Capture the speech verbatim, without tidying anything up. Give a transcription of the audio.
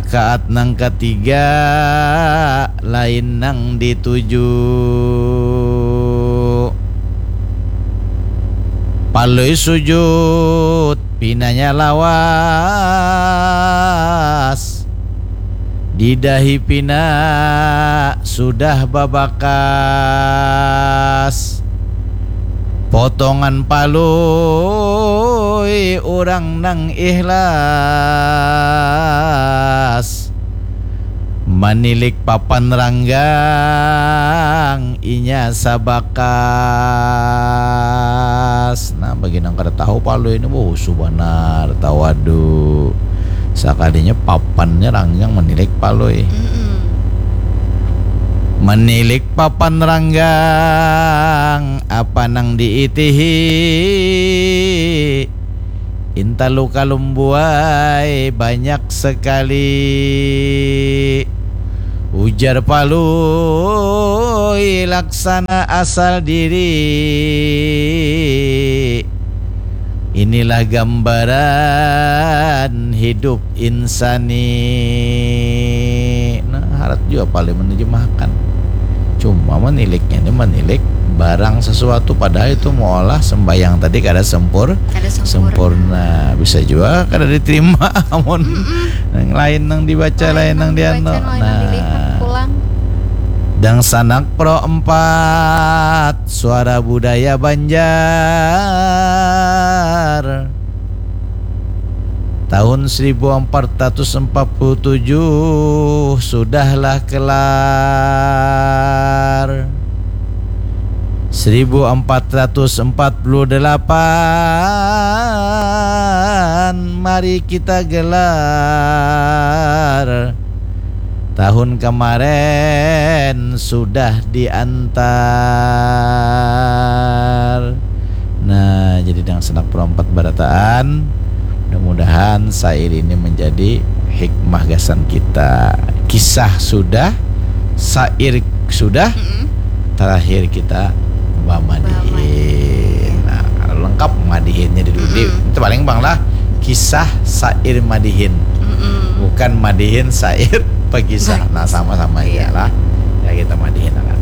Rakaat nang katiga lain nang dituju. Palui sujud, pinanya lawas. Didahi pina sudah babakas. Potongan palui urang nang ikhlas. Manilik papan ranggang inya sabakas. Nah, bagi nang kada tahu palui ini, wuh, husu banar, tawadu. Sakalinya papannya ranggang manilik palui. Mm-mm. Manilik papan ranggang, apa nang diitihi? Intalu kalumbuai banyak sekali. Ujar palui laksana asal diri. Inilah gambaran hidup insani. Nah, harat jua palui menejemahkan. Cuma maniliknya ini manilik barang sesuatu, padahal itu meolah sembahyang tadi kada sempur-, kada sempurna. Sempurna. Bisa jua kada diterima amun nang lain nang dibaca, lain nang dibaca, lain nang dilihat pulang. Dangsanak Pro empat, Suara Budaya Banjar. Tahun seribu empat ratus empat puluh tujuh sudahlah kelar. Seribu empat ratus empat puluh delapan, mari kita gelar. Tahun kemarin sudah diantar. Nah, jadi Dangsanak Pro empat barataan. Mudah-mudahan syair ini menjadi hikmah gasan kita. Kisah sudah, syair sudah, mm-mm, terakhir kita bamadihin. Bamadihin. Nah, kalau lengkap madihinnya di dudi, mm-mm, itu paling bang lah kisah syair madihin. Mm-mm. Bukan madihin syair pakisah. Nah, sama-sama aja lah. Ya, kita madihin akan.